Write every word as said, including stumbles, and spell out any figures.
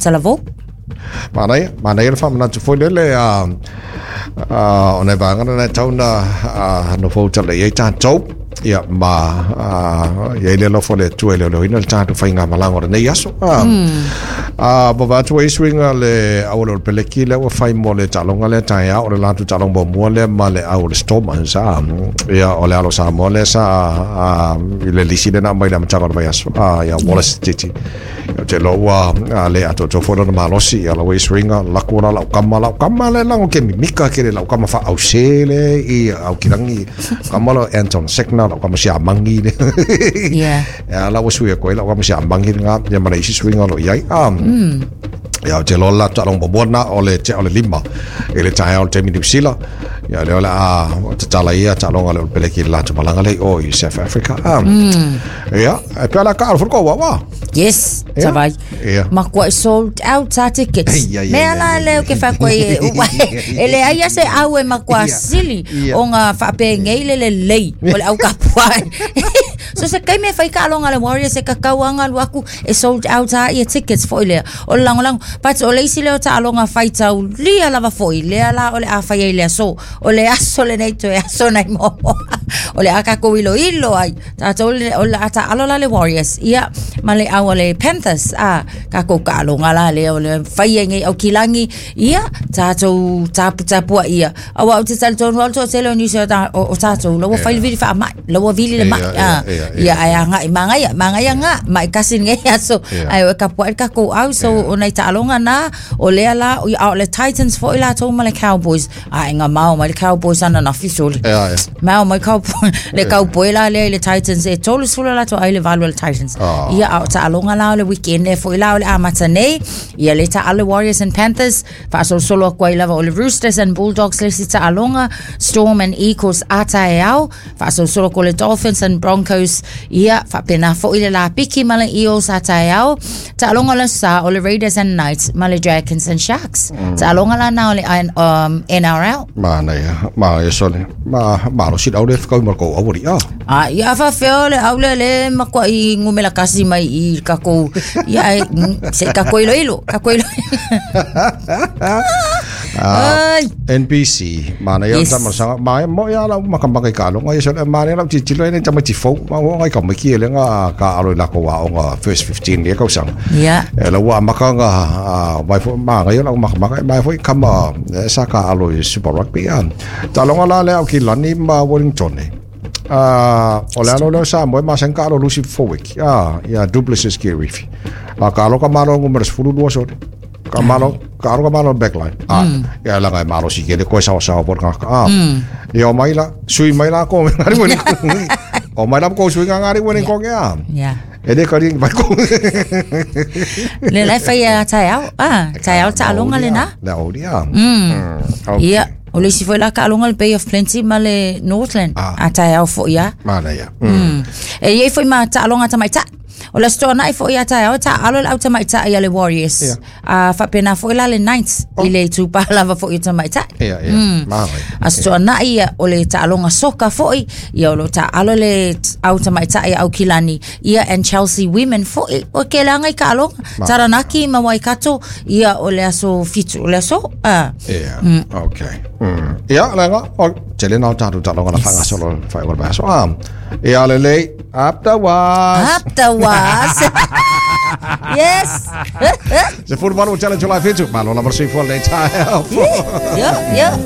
Talavou. Manaia, manaia le faamanatu foi lele a o nai vaega na e tatau ona nofo tala i ai tatou. Ia ma i ai le alofa o le Atua e leoleoina le tatou faigamalaga o lenei aso. A vava atu ai suiga le au o le Peleki lea ua fai mo le taaloga lea taeao, o le latou taaloga muamua lea ma le au o le Stormers. Ia o le alo Samoa lea sa i le lisi lea na aumai i le amataga o le vaiaso, ia Wallace Titi. Ia te iloa ua le atoatoa foi lona malosi. Ia lau ai suiga laku la lau kama lau kama le lago ke mimika ke le lau kama faause le i Aukilagi kama lo Anton Sekna lau kama siamangi le. Yeah. Ia lau sui ko lau kama siamangi nga ia mana isi suiga lo iai. Ia te loa la taaloga muamua na o le o le lima i le taeao o le taimi New Zealand. Ia lea o le a tatala ia taaloga le o le Peleki i le latou malaga lea o i South Africa. Ia e pea la ka alo fo wa. Yes, savai. Makua sold out our tickets. Mea la leo ke whakoi e le aia se au e makua sili o ngā whaapengei le le lei o le au kapua. So se kai me whai ka alonga le Warriors e kakau anga luaku e sold out a ia tickets foi lea. O le langolango, but o le isi leo ta alonga whaitau lia lava foi lea la o le a whai ai lea so. O le aso le nei toe aso nei momo. O le a kako ilo ilo ai. Tātou le, o le ata alo la le Warriors. Ia, ma le au le Panthers. A, kako ka alonga la le o le whai ai ngei au kilangi. Ia, tātou tapu tapua ia. Awa o te talitonu au tō tele o niusi o tātou. Laua whai vili wha mai. Laua vili le mai. Ia, ai anga i mangaia, mangaia ngā, mai kasi ngei aso. Ai o kapua e kako au, so o nei taaloga na, o lea la, o le Titans foi la tō ma le Cowboys. A, inga mao mai le Cowboys ana na fisoli. Mao mai Cowboy, le Cowboy la lea i le Titans, e tolu sula la tō ai le valu le Titans. Ia, a o taaloga la o le weekend e foi la o le amata nei, ia le taalo Warriors and Panthers, faasolosolo aku ai lava o le Roosters and Bulldogs le si taaloga, Storm and Eagles ata e au, faasolosolo ko le Dolphins and Broncos, ia, faapena foi le lapiki ma le Eels ata e au, taaloga le sa o le Raiders and Knights ma le Dragons and Sharks. Taaloga la na o le um, N R L. Ma nei, ma e sole, ma ma lo sit au le whakau marko awari a. A ia whawheo le au le le makua i ngumela kasi mai i kako, ia e, se kako ilo ilo, kako ilo. Uh, N B C mana ia yes. Tama ma mo ia la makamaka ka longa ia sole mana la titilo ene tama tifou ma o ngai ka miki ele nga ka alo la ko wa o nga first fifteen le ka sang yeah e la wa makanga vai fo ma ngai la makamaka mai foi kama sa ka alo Super Rugby an ta longa la le au ki lani ma Wellington ah o le alo le sa mo ma sen ka alo Lucy Forwick ah ia Duplessis Kirifi a ka alo ka malo ngumera sefulu lua sole ka malo ka aro ka malo backline ah ia la ngai malo si ke le koe sao sao por ka ah ia mai la sui mai la ko ngari weni o mai la ko sui ngari weni ko ke a yeah e le ka ring mai ko le lai fai a tai au ah tai au ta alonga le na la o dia mm ia o le si foi la ka alonga le Bay of Plenty ma le Northland a tai au fo ia ma la ia e ia foi ma ta alonga ta mai ta o le stoa nai foi ata au ta alo le auta mai ta ia le Warriors. Yeah. A faapena foi la le Knights oh. I le tupa lava foi ata mai ta. Yeah, yeah. Mm. A stoa nai ia o le taaloga soka foi ia o lo ta alo le auta mai ta ia au Kilani ia and Chelsea Women foi o ke langa i ka aloga Taranaki ma Waikato ia o le aso fitu o le aso ah. Yeah. Mm. Okay. Mm. Ia langa o tele nau tātou taaloga la whanga solo whai o le aso. Ah. Ia le lei up the was. Up the was. Yes. Se furu malu challenge la fitu. Malo la versi fo le tae. Yeah, yeah.